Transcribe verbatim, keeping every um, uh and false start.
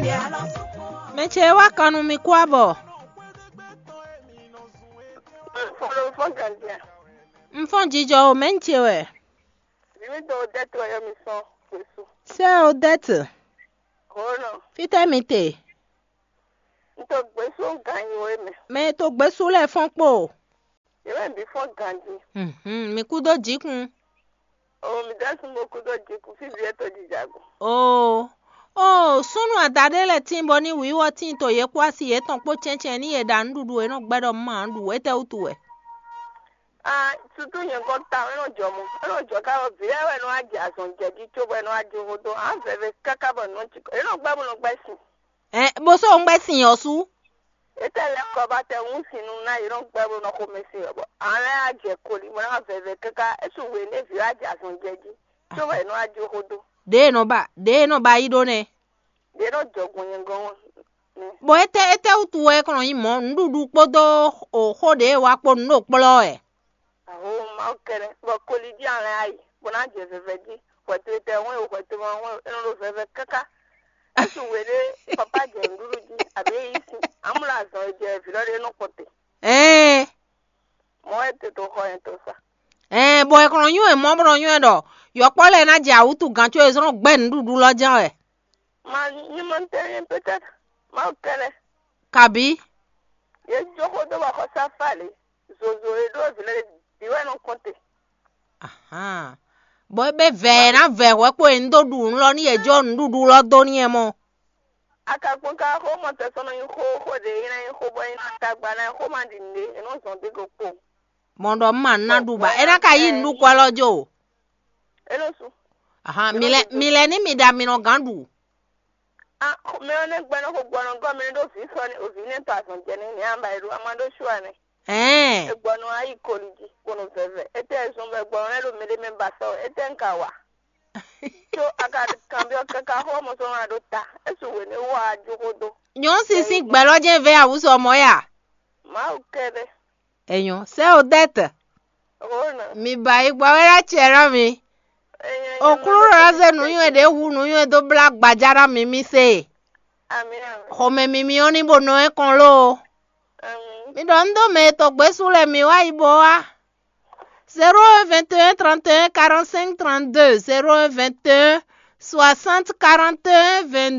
Mɛ ce wá kan nú mi kú abɔ. Follow for Gandia. Un fɔ́n jijɔ o, mɛ̌ un ce wɛ? Vǐ mi dó Odette wɛ yɔ mi sɔn Gbèsú. Sɛ Odette, Hǒnɔ, fítɛ́ mi te? Un to Gbèsú ganyi we mɛ. Mɛ e to gbésú lɛ́ɛ fɔ́n kpo. Yě mɛ bǐ fɔ́n ganji. Mhm, mi kú dó jǐkun. O mi dá sun bó kú dó jǐkun fí vǐ ɛ to jìjàgùn. Oo, oo, súnnu adaɖé lɛ́ɛ tíin bɔ ní wǐwɔ tíin to yě kpó asi yětɔn kpó cɛ́ncɛ́n ní yě ɖa nǔɖuɖu e nɔ gbɛ́ ɖɔ má ɖu étɛ́ wútu wɛ? Ah, sutu nyɛ gɔ́n ta, é nɔ jɔ mɔ. É nɔ jɔ ká bɔ vǐ lɛ́ɛ wɛ nɔ wá jɛ azɔn jɛ jí cóbɔ é nɔ wá jó xó dó. Ǎ vɛvɛ káká bɔ nǔ nɔ cikɔ. É nɔ gbɛ́ bó nɔ gbɛ́ sin. Ɛ, bó sɔ́ ŋgbɛ́ sin ɔ́ sú. Étɛ́ lɛ́ kɔ ba tɛ wún sin nú ná yě nɔ gbɛ́ bó nɔ xomɛ sin ɔ́, bɔ ǎ lɛ́ wá jɛ koli bó ná vɛvɛ káká. É sú hwe nú vǐ wá jɛ azɔn jɛ jí. Cóbɔ é nɔ wá jó xó dó. Ɖěe nɔ ba, ɖěe nɔ ba yí ɖó nɛ́. Ɖě nɔ jɔ gbɔn nyɛ gɔ́n ɔ́. Bɔ étɛ́ étɛ́ wútu wɛ é kɔn nɔ nyí mɔ̌? Nǔɖuɖu kpódó xó ɖě e wa kpó nǔ ɖo kplɔ́ wɛ. Aho Mawu kɛnɛ, bɔ koli jí alɛ ayi, bó ná jɛ vɛvɛ jí. Hwɛtu e tɛ hɔn e hwɛtu ma hɔn e, é nɔ ɖo vɛvɛ káká. Ésu we ɖé papa jɛ nǔɖuɖu jí, abǐ é yí sin. Amúlɔ azɔn e jɛ vǐ lɔ ɖé nɔ kpɔn te. Ɛɛ. Mɔ̌ wɛ te to xɔ nyɛ to sa. Ɛɛ, bɔ è kɔn nɔ nywɛ́ mɔ̌ bó nɔ nywɛ́ ɖɔ yɔkpɔ́ lɛ́ɛ ná jɛ awǔtu gǎn có è zɔ́n nɔ gbɛ́ nǔɖuɖu lɔ jɛ́n wɛ. Ma nyí mɔ tɛnmɛ peut-être. Mawu kɛnɛ. Kabǐ. Yě jó xó dó bɔ xɔsá fá lě. Zozo e ɖó vǐ lɛ́ɛ bǐ wɛ nɔ kɔn te. Ahan. Bɔ é bɛ vɛ ɛ ná vɛ hwɛ kpo e un dó ɖu nǔ lɔ ní yě jó nǔɖuɖu lɔ dó n'i ɛ mɔ. A ka kpɔ́n ka xó mɔ tɛsɔnɔ nyí xó xó ɖě é ná nyí xó bɔ é ná tagba ná xó ma ɖi nǔɖé, é nɔ zɔn dé go kpo. Mɔ ɖɔ un ma ná ɖu ba é ná ka yí nǔɖuɖu kwɛ lɔ jó. É nɔ su. Ahan, mi lɛ mi lɛ ní mi ɖa mi nɔ gǎn ɖu. Ah, mɛ ɔ́ nɛ́ gbɛ́ nɔ xo gbɔnɔ gɔ́ mɛ ɖó vǐ sɔ ní òvǐ nɛ́ to azɔn jɛ ní ní amba e ɖó ama ɖó shu anɛ. Ɛɛ. Egbɔnɔ ayi koli jí kpono vɛvɛ. Etɛ zɔn bɛ gbɔnɔ lɛ ɖo mɛ ɖé mɛ ba sɔ etɛ un ka wa. Tso a ka kanbyɔ kaka xɔ mɔ sɔ ma ɖo ta. Esu wě nɛ wɔ ajo xó dó. Nyɔ̌ sísí gbɛ̌ lɔ jɛ́n vɛ́ awǔsɔ mɔ̌ ya. Mawu kɛɖɛ. Enyɔ, sɛ o dɛtɛ. Rona. Mi ba yi gbɔ wɛ ɖo acɛ ɖɔ mi. Enyo. Oklúnɔ ná zé nǔnywɛ́ ɖě hu nǔnywɛ́ dó blá gbaja ná mi mi se. Ami ami. Xɔmɛ mi mi ɔ́ ní bo nɔ ɛ kɔn ló. Ami. Mi ɖɔ un dó mɛ e tɔgbé sú lɛ mi wá yi bo wá. Zéro un vingt et un trente et un quarante-cinq trente-deux, zéro un vingt et un soixante quarante et un vingt-deux.